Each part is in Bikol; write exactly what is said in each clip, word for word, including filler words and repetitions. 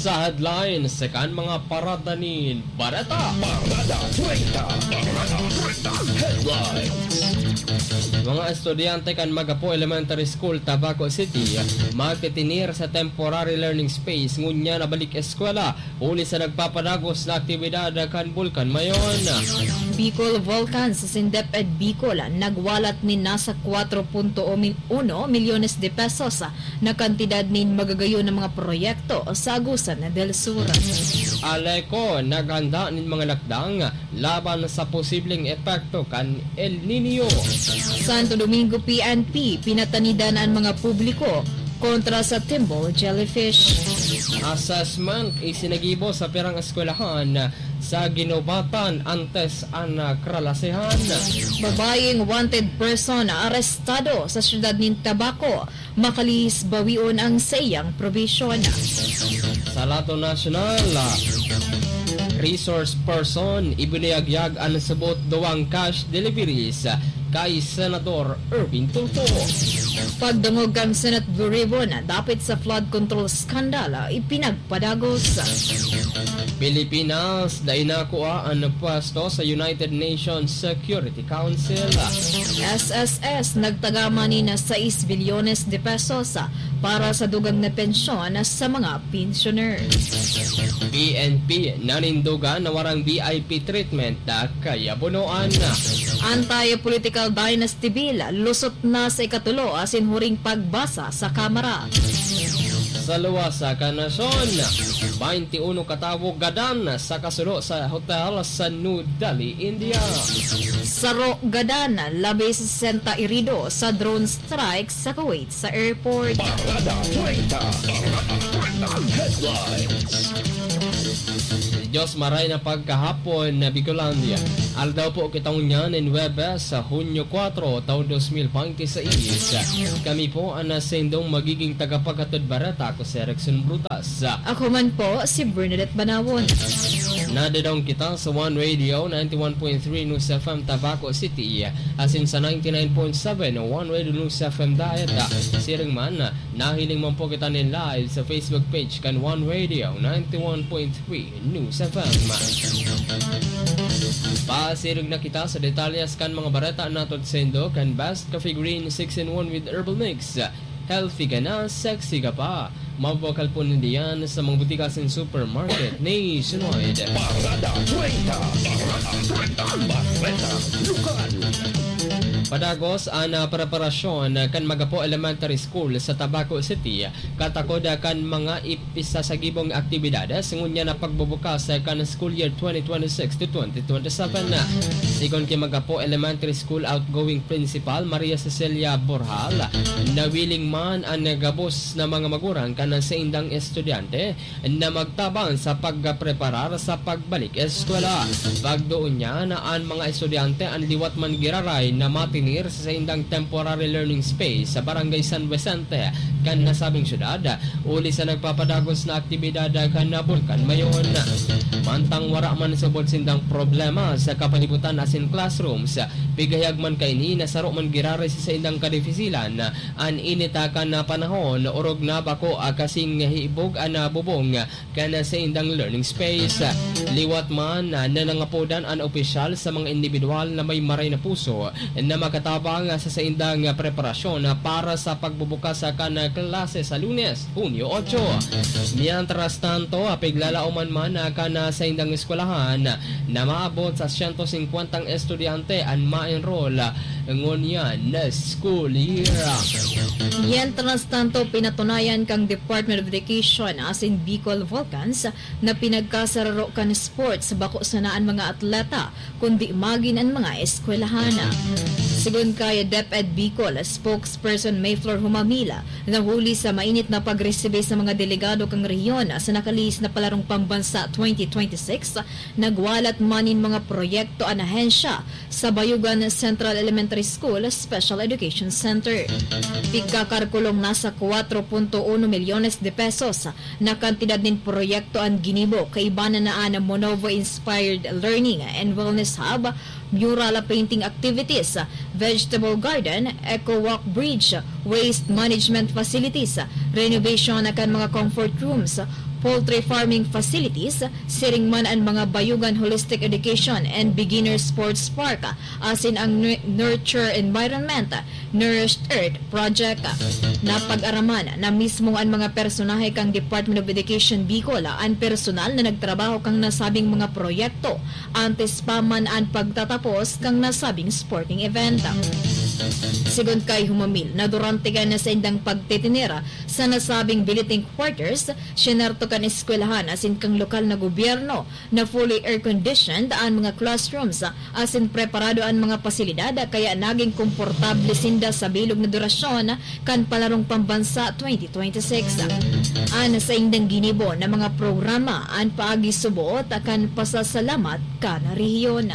Sa headlines kan mga parada nin bareta. Parada treinta. Parada treinta. Headlines. Mga estudyante kan Magapo Elementary School, Tabaco City, magtitinir sa temporary learning space ngunyan na balik eskwela huli sa nagpapadagos na aktibidad kan Bulkan Mayon. Bicol Volcans asin DepEd Bicol nagwalat nin nasa kwatro punto uno milyones de pesos na kantidad nin magagayon na mga proyekto sa Agusan del Sur. ALECO naghanda nin mga lakdang laban sa posibleng epekto kan El Niño. Santo Domingo P N P, pinatanidan an mga publiko kontra sa thimble jellyfish. Assessment isinagibo sa pirang eskwelahan sa Guinobatan antes an, ah, kalalasehan. Babayeng wanted person arestado sa siyudad nin Tabaco, makalihis bawion ang saiyang probation. Sa Lato National, ah, resource person, ibinuyagyag an subot duwang cash deliveries kay Senador Erwin Tulfo. Pagdangog kan Senate Blue Ribbon dapit sa flood control scandal, ipinagpadagos. Pilipinas, dai nakua an pwesto sa United Nations Security Council. S S S nagtagama nin sais bilyones de pesos para sa dugang na pensyon sa mga pensioner. P N P, nanindogan na warang V I P treatment, ah, kaya bunoan. Anti-political dynasty bill, lusot na sa ikatulo asin huring pagbasa sa Kamara. Sa luwas sa kanasyon, baynte uno katawo gadan sa kasulo sa hotel sa New Delhi, India. Saro gadan, labi sa sesenta irido sa drone strike sa Kuwait sa airport. Parada treinta. Parada treinta. Headlines. Diyos maray na pagkahapon na Bicolandia. Aldaw po kita ngunyan nin Huwebes sa Hunyo kwatro, taon dos mil bente seis. Kami po ang nasendong magiging tagapaghatod bareta. Ako si Erickson Brutas. Ako man po si Bernadette Banawon. Nadadong kita sa One Radio, ninety-one point three News F M Tabaco City, asin sa ninety-nine point seven One Radio News F M Daet. Siring man, nahiling man po kita nin live sa Facebook page kan One Radio, ninety-one point three News F M. Pasirog na kita sa detalyes kan mga bareta na saindo kan Best Coffee Green six in one with Herbal Mix. Healthy ka na, sexy ka pa. Mabakal po nindiyan sa mga butika asin supermarket nationwide. Parada treinta. Parada treinta. Bareta Lokal. Padagos an, ah, preparasyon kan Magapo Elementary School sa Tabaco City, katakod kan mga ip-, isasagibong aktibidades ngunyan na pagbubukas kan school year twenty twenty-six to twenty twenty-seven. Sigon ki Magapo Elementary School outgoing principal Maria Cecilia Borjal, nawiling man an gabos na mga magurang kan saindang estudyante na magtabang sa pagpreparar sa pagbalik eskwela. Pagdoon niya na an mga estudyante an liwat man giraray na matinir sa saindang temporary learning space sa Barangay San Vicente kan nasabing syudad, huli sa nagpapadagos na aktibidad kan Bulkan Mayon. Mantang wara man subod sindang problema sa kapalibutan asin classrooms, pigayag man kaini na saro man giraray sa saindang kadifisilan an init kan panahon, orog na bako kasing hibog an bubong kan saindang learning space. Liwat man na nangangapodan an opisyal sa mga indibidwal na may maray na puso na makatabang sa saindang preparasyon para sa pagbubukas kan klase sa Lunes, Hunyo otso. Mientras tanto, piglalaoman man kan saindang eskwelahan na maabot sa siyento singkwentang estudyante an ma-enroll ngunyan na school year. Mientras tanto, pinatunayan kan Department of Education asin Bicol Volcans na pinagkasararo kan sports bako sana an mga atleta, kundi magin an mga eskwelahan. Sigon kay DepEd Bicol spokesperson Mayflor Humamila, na huli sa mainit na pagresibi sa mga delegado kan rehiyon sa nakalihis na Palarong Pambansa twenty twenty-six, nagwalat man nin mga proyekto an ahensya sa Bayugan Central Elementary School Special Education Center. Pigkakalkulong nasa kwatro punto uno milyones de pesos na kantidad nin proyekto an ginibo, kaiba na an Monovo Inspired Learning and Wellness Hub, mural painting activities, vegetable garden, eco walk bridge, waste management facilities, renovation kan mga comfort rooms, poultry farming facilities, siring man an mga Bayugan Holistic Education and Beginner Sports Park, asin ang nu-, Nurture Environment, Nourished Earth Project. Napag-araman na mismo an mga personahe kan Department of Education Bicol an personal na nagtrabaho kan nasabing mga proyekto antes pa man an pagtatapos kan nasabing sporting event. Sigon kay Humamil na durante kan saindang pagtitiner sa nasabing billeting quarters, sinerto kan eskwelahan asin kan lokal na gobyerno na fully air-conditioned an mga classrooms asin preparado an mga pasilidad, kaya naging komportable sinda sa bilog na durasyon kan Palarong Pambansa twenty twenty-six. An saindang ginibo na mga programa an paagi suboot kan pasasalamat kan rehiyon.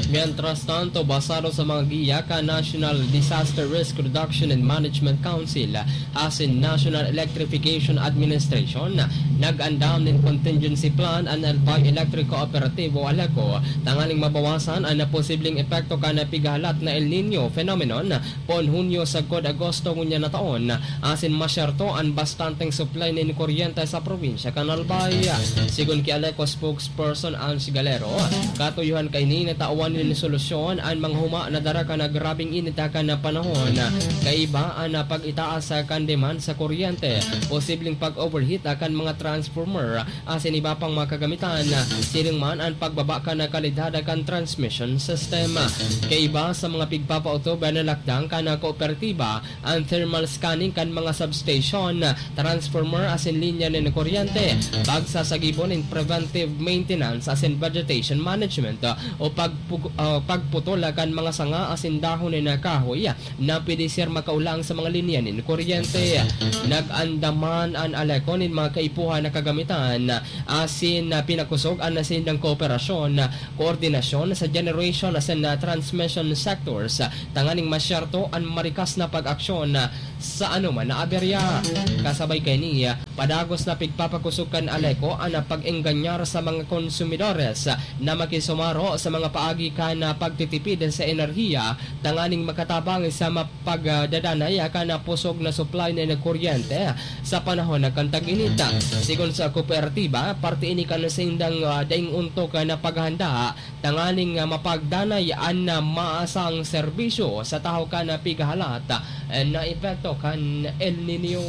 Mientras tanto, basado sa mga giya kan National Disaster Risk Reduction and Management Council asin National Electrification Administration, nag-andam nin contingency plan an Albay Electric Cooperatibo, ALECO, tanganing mabawasan an posibleng epekto kan pighahalat na El Niño phenomenon poon Hunyo sagkod Agosto ngunyan na taon, asin masyerto an bastanteng supply nin kuryente sa probinsya kan Albay. Sigon ki ALECO spokesperson Ange Galero, katuyohan kaini na tawan nin solusyon an mga huma na dara kan grabeng init kan panahon. Kaiba an pag-itaas kan demand sa kuryente, posibleng pag-overheat kan mga transformer, asin iba pang mga kagamitan. Siring man an pagbaba kan kalidad kan transmission system. Kaiba sa mga pigpapautob na lakdang kan kooperatiba, an thermal scanning kan mga substation, transformer asin linya nin kuryente, pagsasagibon nin preventive maintenance asin vegetation management, o pagpug-, ah, pagputol kan mga sanga asin dahon nin kahoy na pwede ser makaolang sa mga linya nin kuryente. Nag-andaman an ALECO nin mga kaipuhan na kagamitan, asin, ah, pinakosog an nasindang kooperasyon, koordinasyon sa generation asin, ah, transmission sectors, tanganing masyerto an marikas na pag-aksyon, ah, sa anoman na aberya. Kasabay kaini, ah, padagos na pigpapakosog kan ALECO an, ah, pag-engganyar sa mga konsumidores, ah, na makisumaro sa mga paagi kan, ah, pagtitipid sa enerhiya tanganing makatabang sa mapagdadanay kan pusog na supply nin kuryente sa panahon kan tag-init. Sigon sa kooperatiba, parte ini kan saindang, ah, daing ontok na paghahanda tanganing, ah, mapagdanay an, ah, maasang serbisyo sa tahaw kan pighahalat, ah, na epekto kan El Niño.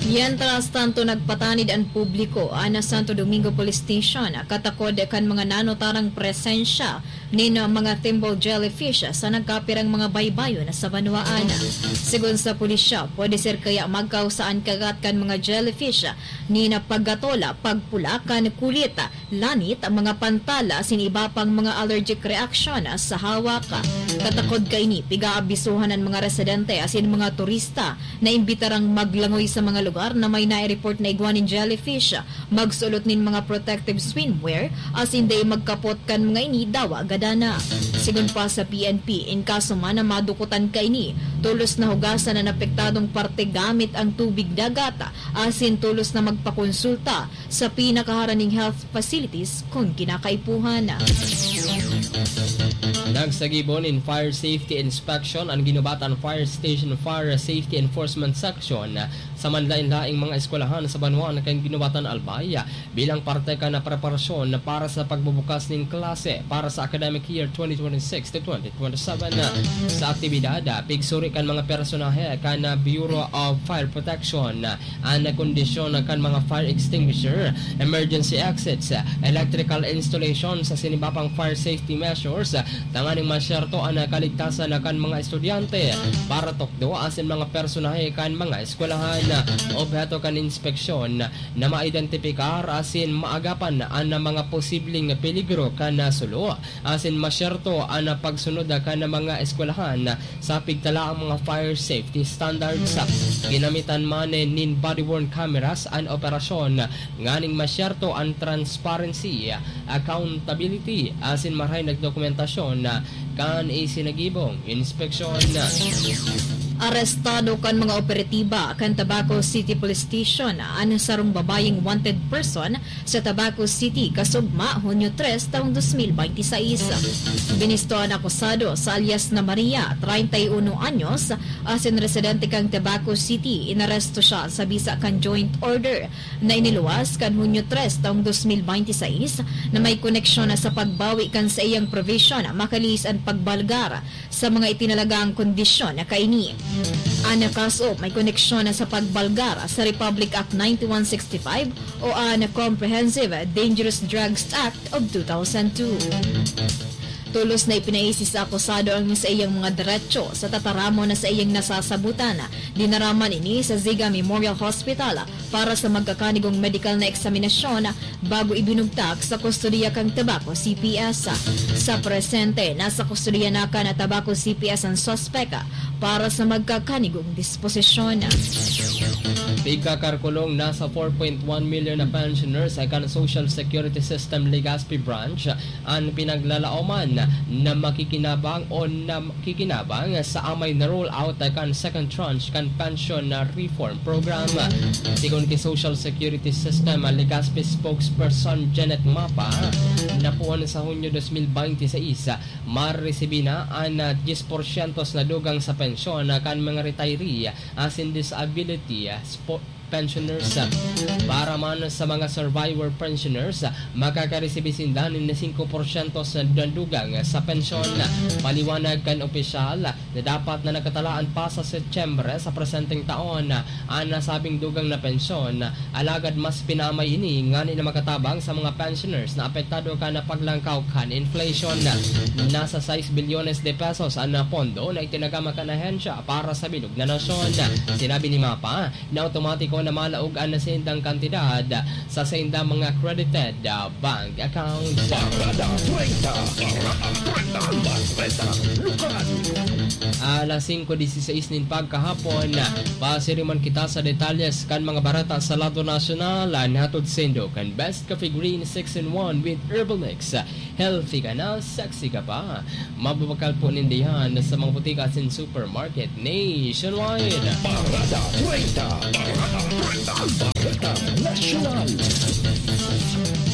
Mientras tanto, nagpatanid an publiko an Santo Domingo Police Station katakod kan mga nanotarang presensya nin mga thimble jellyfish sa nagkapirang mga baybayon sa banwaan. Sigon sa pulisya, pwede ser kaya magkausa an kagat kan mga jellyfish nin paggatol, pagpula kan kulit, lanit, mga pantal, asin iba pang mga allergic reaction sa hawak. Katakod kaini, pig-aabisohan an mga residente asin mga turista na imbitarang maglangoy sa mga lugar na may nai-report na igwa nin jellyfish, magsulot nin mga protective swimwear, asin dai magkapot kan mga ini dawa gadana. Sigon pa sa P N P, in kaso man na madukotan kaini, tolos na hugasan an apektadong parte gamit ang tubig dagat, asin tolos na magpakonsulta sa pinakaharaning health facilities kun kinakaipuhan. Nagsagibo nin fire safety inspection an Guinobatan Fire Station Fire Safety Enforcement Section sa manlaen-laeng mga eskwelahan sa banwaan kan Guinobatan, Albay, bilang parte kan preparasyon para sa pagbubukas nin klase para sa academic year twenty twenty-six to twenty twenty-seven. Sa aktibidad, pigsuri kan mga personahe kan Bureau of Fire Protection an kondisyon kan mga fire extinguisher, emergency exits, electrical installations asin iba pang fire safety measures tanganing masyerto an kaligtasan kan mga estudyante, paratukdo asin mga personahe kan mga eskwelahan. Obheto kan inspeksyon na maidentipikar asin maagapan an mga posibleng peligro kan sulo asin masyerto an pagsunod kan mga eskwelahan sa pigtalaang mga fire safety standards. Ginamitan man nin body-worn cameras an operasyon nganing masyerto an transparency, accountability, asin marahay na dokumentasyon kan isinagibong inspeksyon. Arestado kan mga operatiba kan Tabaco City Police Station an sarong babayeng wanted person sa Tabaco City kasugma Hunyo tres taong dos mil baynte sais. Binisto an akusado sa alias na Maria, treinta y uno anyos, asin residente kan Tabaco City. Inaresto siya sa bisa kan joint order na iniluwas kan Hunyo tres taong dos mil baynte sais na may koneksyon na sa pagbawi kan saiyang provision makalihis an pagbalgar sa mga itinalagang kondisyon na kaini. An kaso may koneksyon na sa pagbalgar sa Republic Act ninety-one sixty-five o an Comprehensive Dangerous Drugs Act of two thousand two. Tolos na ipinaisi sa akusado ang saiyang mga deretsyo sa tataramon na saiyang nasasabutan. Dinara man ini sa Ziga Memorial Hospital para sa magkakanigong medikal na eksaminasyon bago ibinugtak sa kustodiya kan Tabaco C P S. Sa presente, nasa kustodiya na kan Tabaco C P S an suspek para sa magkakanigong disposisyon. Pigkakarkulong nasa four point one million na pensioners kan Social Security System Legazpi Branch an pinaglalaoman na makikinabang o na kikinabang sa amay na roll out kan second tranche kan pension na reform program. Sigon ki Social Security System Legazpi spokesperson Janet Mapa, na puon sa Hunyo dos mil baynte sais, maresibi na an, ah, diyes porsyentos na dugang sa pensyon kan mga retiree asin disability, ah, spo-, pensioners. Para man sa mga survivor pensioners, makakaresibi sinda nin singko porsyentos na dugang sa pensyon. Paliwanag kan opisyal na dapat na nakatalaan pa sa Setyembre sa presenteng taon an nasabing dugang na pensyon, alagad mas pinaamay ini ngani na makatabang sa mga pensioners na apektado kan paglangkaw kan inflation. Nasa sais bilyones de pesos an pondo na itinagama kan ahensya para sa bilog na nasyon. Sinabi ni Mapa, na otomatiko na malaog an saindang kantidad sa saindang mga credited, ah, bank accounts. Parada treinta, Parada treinta, Bareta, Lokal. Alas singko disisais nin pagkahapon, pasiriman kita sa detalyes kan mga bareta sa lado nasyonal. An hatod saindo kan Best Coffee Green six in one with Herbal Mix. Healthy ka na, sexy ka pa. Mababakal po ninda yan sa mga butika asin supermarket nationwide. Parada treinta, Parada treinta, Bareta Nasyonal.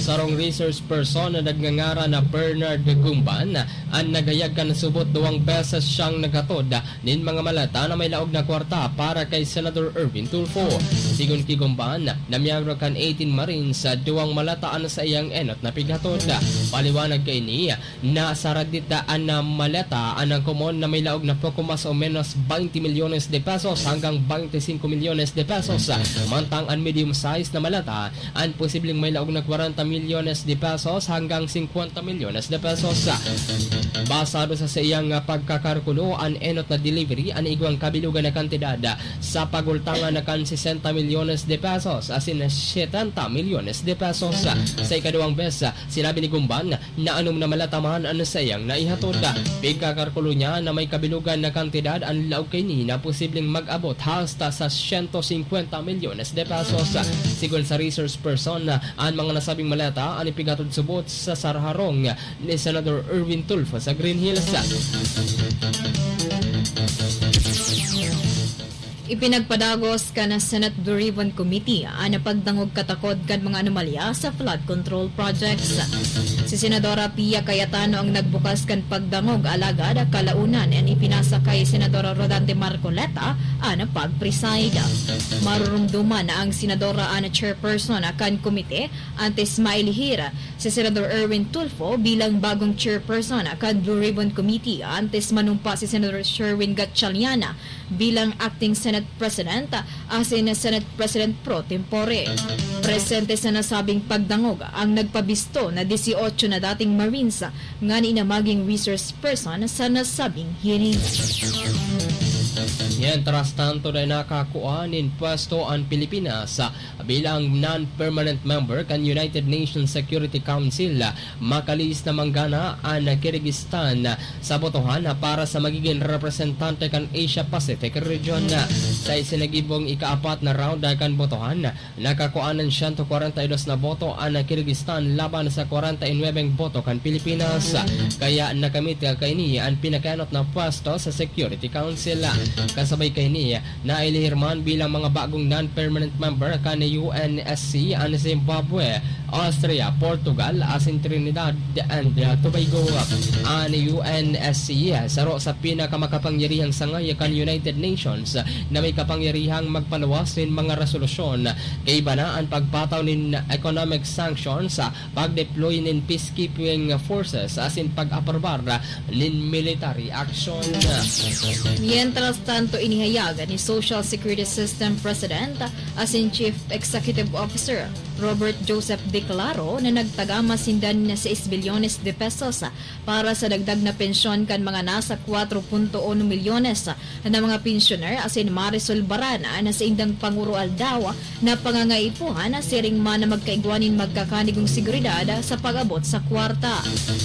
Sarong resource person na nagngangaran na Bernard Gumban an naghayag kan subot duwang beses siyang naghatod nin mga maleta na may laog na kwarta para kay Senador Erwin Tulfo. Sigon ki Gumban, na miyembro kan eighteen Marines, duwang maleta an saiyang enot na pighatod. Paliwanag kaini, na saradit an maleta an komon na may laog na poko mas o menos twenty milyones de pesos hanggang twenty-five milyones de pesos, mantang an medium size na maleta an posibleng may laog na kwarenta milyones de pesos hanggang singkwenta milyones de pesos. Basado sa saiyang pagkakalkulo, an enot na delivery an igwang kabilugan na kantidad sa pagultangan na kan sesenta milyones de pesos asin setenta milyones de pesos. Sa ikaduwang bes, sinabi ni Gumban na anom na maleta man an saiyang naihatod. Pigkakalkulo niya na may kabilugan na kantidad an laog kaini na posibleng mag-abot hasta sa siyento singkwenta milyones de pesos. Sigon sa resource person, an mga nasabing maleta an ipighatod subot sa saraharong ni Senador Erwin Tulfo sa Green Hills. Ipinagpadagos kan Senate Blue Ribbon Committee an pagdangog katakod kan mga anomalya sa flood control projects. Si Senadora Pia Cayetano ang nagbukas kan pagdangog, alagad kalaunan an ipinasa kay Senadora Rodante Marcoleta an pag-preside. Marurumduman na ang senadora an chairperson kan komite antes mailihir si Senador Erwin Tulfo bilang bagong chairperson kan Blue Ribbon Committee antes manumpa si Senador Sherwin Gatchalian bilang acting Senate President asin Senate President pro tempore. Presente sa nasabing pagdangog ang nagpabisto na dieciocho na dating Marines ngani na maging resource person sa nasabing hearing. Mientras tanto, dai nakakua nin pwesto an Pilipinas bilang non-permanent member kan United Nations Security Council. Makalihis na manggana an Kyrgyzstan sa botohan para sa magiging representante kan Asia Pacific region. Sa isinagibong ikaapat na round kan botohan, nakakua nin siyento kwarenta y dos na boto an Kyrgyzstan laban sa kwarenta y nuwebeng boto kan Pilipinas. Kaya nakamit kaini an pinakaenot na pwesto sa Security Council. Kasabay Sabay kaini, nailihir man bilang mga bagong non-permanent member kan U N S C an Zimbabwe, Austria, Portugal, asin Trinidad and Tobago. An U N S C, saro sa pinakamakapangyarihang sangay kan United Nations na may kapangyarihang magpaluwas nin mga resolusyon. Kaiba na an pagpataw nin economic sanctions, pag-deploy nin peacekeeping forces asin pag-aprobar nin military action. Mientras tanto, inihayag ni Social Security System President asin Chief Executive Officer Robert Joseph Declaro na nagtagama sinda nin sais bilyones de pesos para sa dagdag na pensyon kan mga nasa kwatro punto uno milyones na mga pensyoner asin maresolbaran an saindang panguro-aldaw na pangangaipuhan, siring man na magkaigwa nin magkakanigong seguridad sa pag-abot sa kwarta.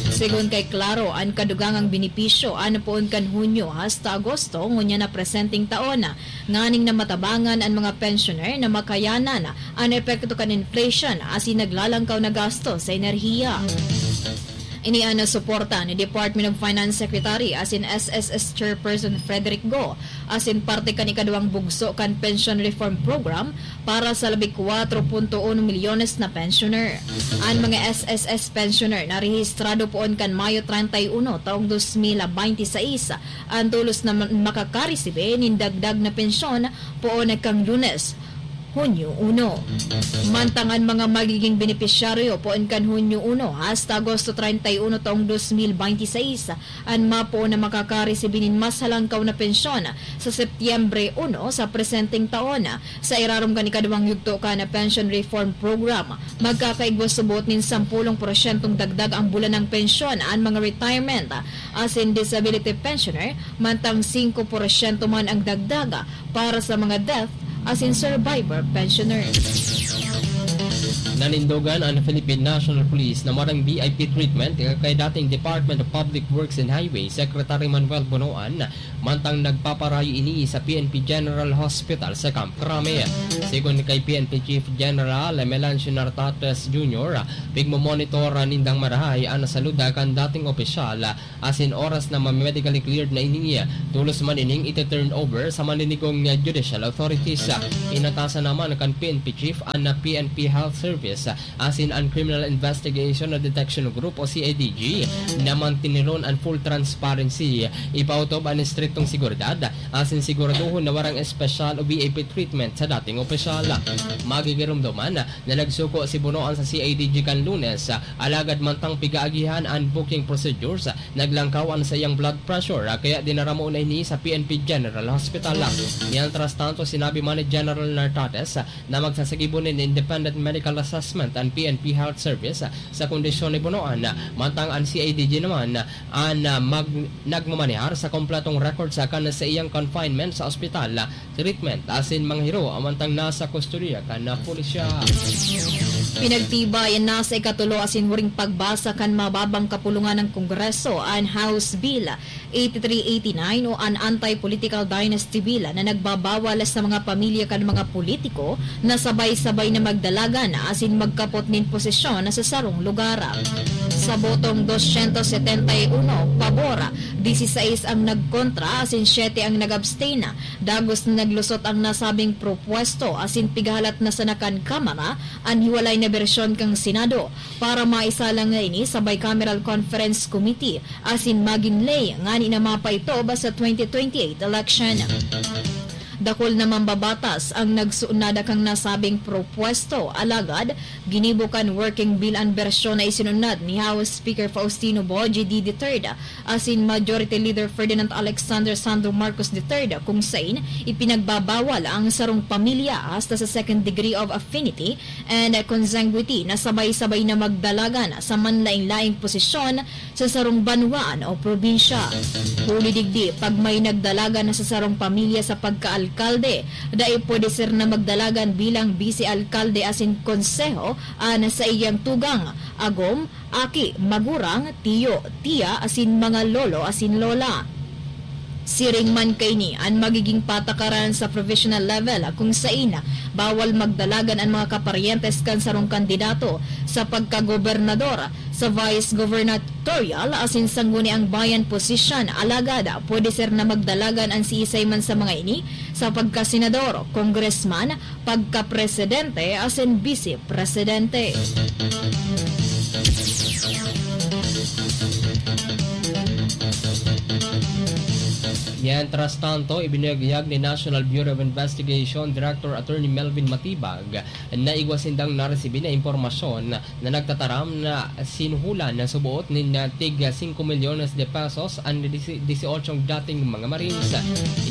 Segun kay Claro, an kadugangang benepisyo an poon kan Hunyo hasta Agosto ngunyan na presenteng taon, nganing namatabangan an mga pensyoner na makayanan an epekto kan inflation asin naglalangkaw na gasto sa enerhiya. Ini an suporta ni Department of Finance Secretary asin S S S Chairperson Frederick Go, asin parte kan ikaduwang bugso kan Pension Reform Program para sa labi kwatro punto uno milyones na pensioner. An mga S S S pensioner na rehistrado poon kan Mayo treinta y uno taong dos mil baynte seis an tolos na ma-, makakaresibi nin dagdag na pensyon poon kan Lunes, Hunyo uno. Mantang an mga magiging benepisyaryo poon kan Hunyo uno hasta Agosto treinta y uno taong dos mil baynte seis, an mapoon na makakaresibi nin mas halangkaw na pensyon sa Setyembre uno sa presenteng taon. Sa irarom kan ikaduwang yugto kan Pension Reform Program, magkakaigwa subot nin sampolong porsyentong dagdag ang bulanang pensyon an mga retirement asin disability pensioner, mantang singko porsyento man ang dagdag para sa mga death asin survivor pensioner. Nanindogan an Philippine National Police na marang V I P treatment kay dating Department of Public Works and Highways Secretary Manuel Bonoan, mantang nagpaparayo ini sa P N P General Hospital sa Camp Crame. Segun kay P N P Chief General Melancio Nartates Junior, pigmomonitor nindang marahay an salud kan dating opisyal asin oras na ma-medically cleared na ini, tolos man ining iti-turn over sa maninigong judicial authorities. Inatasan naman kan P N P Chief an P N P Health Service asin an Criminal Investigation and Detection Group o C I D G na mantiniron an full transparency, ipautob an estriktong seguridad asin siguraduhon na warang espesyal o V I P treatment sa dating opisyal. Magigiromdoman na nagsuko si Bonoan sa C I D G kan Lunes, alagad mantang pigaagihan an booking procedures, naglangkaw an saiyang blood pressure, kaya dinara mo na ini sa P N P General Hospital. Mientras tanto, sinabi man ni General Nartates na magsasagibo nin independent medical assessment an P N P Health Service sa kondisyon ni Bonoan, mantang an C I D G naman an, ah, mag-, nagmamanehar sa kompletong record sa kan sa iyang confinement sa ospital, treatment asin mga hiro, mantang nasa kustodiya kan pulisya. Pinagtibay na sa ikatulo asin huring pagbasa kan mababang kapulungan ng Kongreso an House Bill eighty-three eighty-nine o an Anti-Political Dynasty Bill na nagbabawal sa mga pamilya kan mga politiko na sabay-sabay na magdalagan asin magkapot nin posisyon sa sarong lugar. Sa botong dosyentos setenta y uno pabor, dieciséis ang nagkontra asin siyete ang nag-abstain. Dagos na naglusot ang nasabing propuesto asin pigahalat na sana kan Kamara an hiwalay na bersyon kan Senado para maisalang na ini sa Bicameral Conference Committee asin magin ley ngani na mapaitob sa twenty twenty-eight election. Dakul na mambabatas ang nagsuunada kan nasabing propuesto, alagad ginibo kan working bill an bersyon na isinunad ni House Speaker Faustino Boji D the third asin Majority Leader Ferdinand Alexander Sandro Marcos the third, kung sain ipinagbabawal ang sarong pamilya hasta sa second degree of affinity and consanguinity na sabay-sabay na magdalagan sa manlaing-laing posisyon sa sarong banwaan o probinsya. Huli digdi, pag may nagdalagan na sa sarong pamilya sa pagkaalkalde, dai pwede siya na magdalagan bilang bise-alkalde asin konseho an saiyang tugang, agom, aki, magurang, tiyo, tiya, asin mga lolo asin lola. Siring man kaini an magiging patakaran sa provisional level, kung sain bawal magdalagan an mga kaparyentes kan sarong kandidato sa pagkagobernador, sa vice gubernatorial asin sangguniang bayan posisyon. Alagad pwede ser na magdalagan an siisay man sa mga ini sa pagkasenador, congressman, pagkapresidente asin bise presidente. Mientras tanto, ibinuyagyag ni National Bureau of Investigation Director Attorney Melvin Matibag na igwa sindang naresibi na impormasyon na nagtataram na sinuhulan na suboot nin tig singko milyones de pesos an disi-, dieciocho dating mga Marines.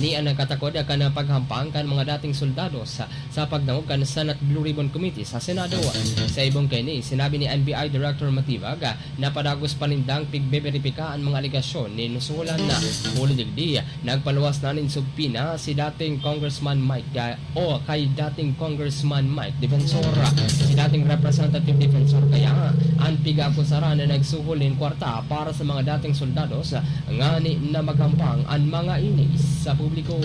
Ini ang nagkatakod kan paghampang kan mga dating soldados sa pagdangog kan Senate Blue Ribbon Committee sa Senado. Sa ibong kaini, sinabi ni N B I Director Matibag na padagos pa nindang pigbeberipika an mga alegasyon nin suhulan na. Huli digdi, nagpaluwas na nin subpoena si dating Congressman Mike, ah, o kay dating Congressman Mike Defensor. Si dating Representative Defensor kaya an pig-aakusaran na nagsuhol nin kwarta para sa mga dating soldados ngani na maghampang an mga ini sa publiko.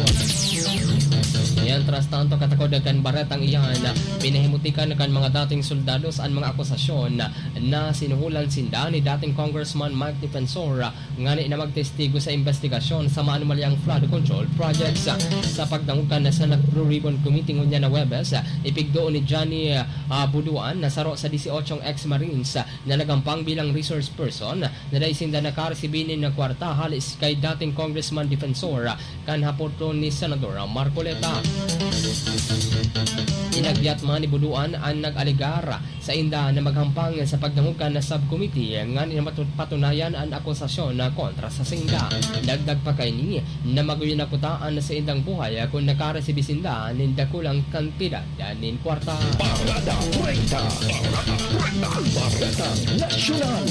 Mientras tanto, katakod kan baretang iyan, pinahimutikan kan mga dating soldados an mga akusasyon na sinuhulan sinda ni dating Congressman Mike Defensor ngani na magtestigo sa imbestigasyon sa maanomalyang flood control projects. Sa pagdangog kan Senate Blue Ribbon Committee ngunyan na Huwebes, ipigdoon ni Johnny, ah, Buduan na saro sa dieciocho ex-Marines na naghampang bilang resource person na dai sinda nakaresibi nin kwarta hale kay dating Congressman Defensor kan hapoton ni Senador Marcoleta. Inagyat man ni Buduan an nag-alegar sainda na maghampang sa pagdangog kan subcommittee ngani na matu-, patunayan an akusasyon na kontra sa sainda. Dagdag pa kaini na maguyo na kuta an saindang buhay kun nakaresibi sinda nin dakulang kantidad nin kwarta. Parada treinta. Parada treinta. Parada Nasyonal.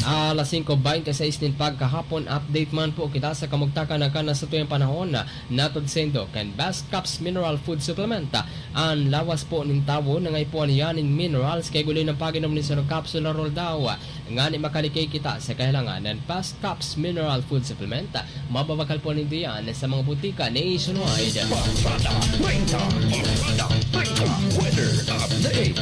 Alas singko bente seis nin pagkahapon, update man po kita sa kamugtakan na kan satuyang panahon. Natod saindo kan Best Caps Mineral Food Supplement. An lawas po nin tawo nangaipuhan niya nin minerals kay guli ng pag-inom nin sarong kapsula Roldaw. Ngani makalikay kita sa kahilangan ng Best Caps Mineral Food Supplement, mababakal po nindo yan sa mga butika nationwide. Parada treinta, Parada treinta, weather update.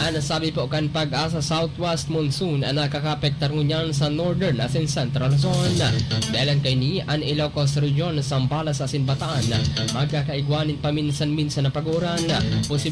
An sabi po kan Pag-asa, southwest monsoon an nakakaapektar ngunyan sa northern asin central Luzon. Dahelan kaini, an Ilocos Region, Zambales asin Bataan magkakaigwa nin paminsan-minsan na paguran. Posible